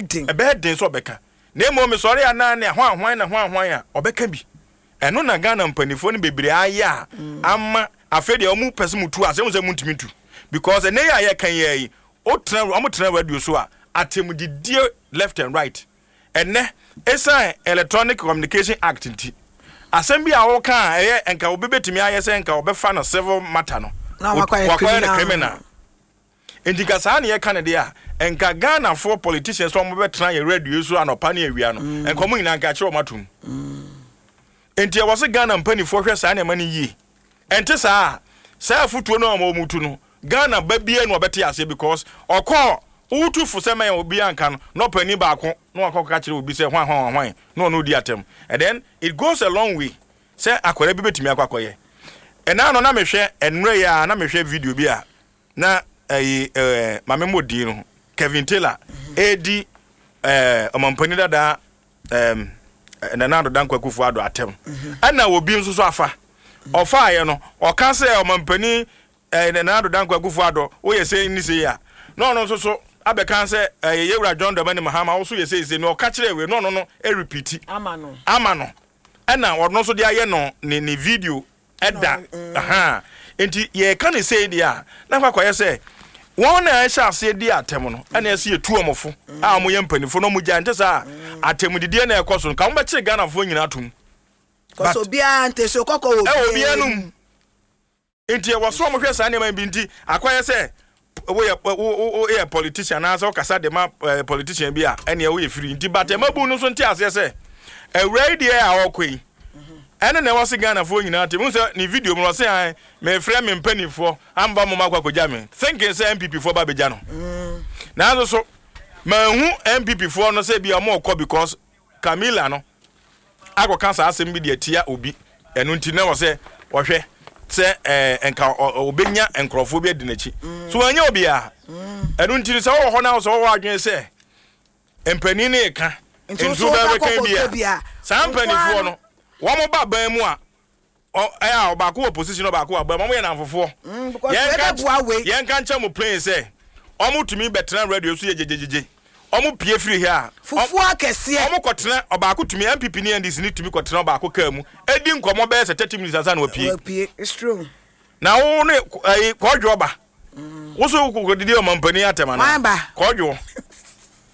Ɛbɛyɛ den. Ɛbɛyɛ den sɛ ɔbɛka. Na mmom mesɔre a na ne hwan hwan na hwan hwan a, ɔbɛka bi. Ɛno na Ghana mpaninfoɔ no bebree ayɛ a ama afei deɛ wɔn pɛ sɛ mo tu ase, wɔn sɛ mo ntumi ntu. Because ɛnɛ yi a yɛka yi ara yi, wotena, wɔn tena radio so a, atɛmudidie left and right. Ɛnnɛ, esiane Electronic Communication Act nti, asɛm bi a woka a ɛyɛ nka obi betumi ayɛ sɛ nka ɔbɛfa no civil matter no, Na wakɔyɛ wakɔyɛ no criminal. criminal. Nti nka saa na yɛka no deɛ a, nka Ghanafoɔ politicians a wɔbɛtena yɛn radio yi so anɔpa ne awia no, nka wɔn nyinaa nka akyerɛ wɔn atom. Nti ɛwɔ sɛ Ghana mpanimfoɔ hwɛ saa nneɛma no yie. Ɛnte saa a, saa afutuo no a wɔtu no, Ghana ba biara na ɔbɛte aseɛ because ɔkɔɔ wotu fo sɛ mɛn obiara nka no na ɔpanin baako na wakɔ kɔka kyerɛ obi sɛ hwan hwan hwan na ɔno di atɛm and then it goes a long way sɛ akwadaa bi bɛtumi akɔ akɔyɛ. Ɛna no na mehwɛ ɛnora yi a na mehwɛ video bi a na ɛyi ɛɛ maame mmɔ din no Kevin Taylor ɛredi ɛɛ ɔmampanin dada ɛɛm Nana Addo Dankwa Akufo Addo atɛm ɛna obi nso so afa ɔfaayɛ no ɔka sɛ ɔmampanin ɛɛ Nana Addo Dankwa Akufo Addo woyɛ sei ne sei a na ɔno nso so abɛka sɛ ɛyɛ yɛwura John Dramani Mahama wo so yɛ sei sei na ɔka kyerɛ wei na ɔno no ɛrepiti ama no ama no ɛna ɔno nso de ayɛ no ne ne video ɛda ahaa nti yɛka ne sei deɛ a na akɔ akɔyɛ sɛ wɔn na ɛhyɛ aseɛ di atɛm no ɛna ɛsɛ yɛtu wɔn fo a wɔn yɛ mpanimfoɔ na wɔn gya nte saa atɛmdidiɛ na ɛkɔ so no ka wɔn bɛkyere Ghanafoɔ nyinaa atom. Kɔsɛ obiara nte so kɔkɔ wɔ ɛwɔ obiara nom nti ɛwɔ so wɔn hwɛ saa nneɛma bi nti akɔyɛ sɛ woyɛ wo woyɛ politician anaasɛ wokasa de ma eh, politician bi a ɛneɛ woyɛ firi nti but ɛmabu no nso nte aseɛ sɛ awura yi deɛ a ɔkɔ yi ɛne na ɛwɔ se Ghanafoɔ nyinaa te mu sɛ ne video mu no ɔse an mefrɛ me mpanimfoɔ amba mo makɔ akɔgya me thinking sɛ NPP foɔ ba bɛgya no nanso so manhu NPP foɔ no sɛ bi a ɔmo kɔ because Camila no akɔka saa asɛm bi de atia obi, ɛno nti na ɛwɔ sɛ ɔhwɛ sɛ ɛɛ nka ɔbɛnya nkurɔfoɔ bi adi n'akyi. So wanya obiara. Ɛno nti sɛ wɔwɔ hɔ na sɛ wɔwɔ adwene sɛ mpanin no reka Nti nti wo nso wobɛka wobɛkɔ bi a, kɔkɔ saa bi a, mpanimfoɔ no wɔn ba ban mu a Ɔ ɛyɛ a ɔbaako wɔ position ɔbaako wɔ abam. Wɔn yɛ nnamfofoɔ. Mm, because Yɛn wei ka bɛboa wei. yɛn ka nkyɛn mo plain sɛ wɔn tumi bɛtena radio so yɛ gyegyegyegye. Wɔn pie firi ha a, ɔ Fufuo akɛseɛ. wɔn kɔtena ɔbaako tumi NPP ne NDC ne tumi kɔtena ɔbaako kaa mu edi nkɔmɔ bɛyɛ sɛ 30 minutes ansa na wapue. Wapue, it's true. Na wo ne ɛyi kɔɔdwoɔ ba. Wo so kɔdidi ɔmampanin atɛm anaa? Hwan ba? Kɔɔdwoɔ.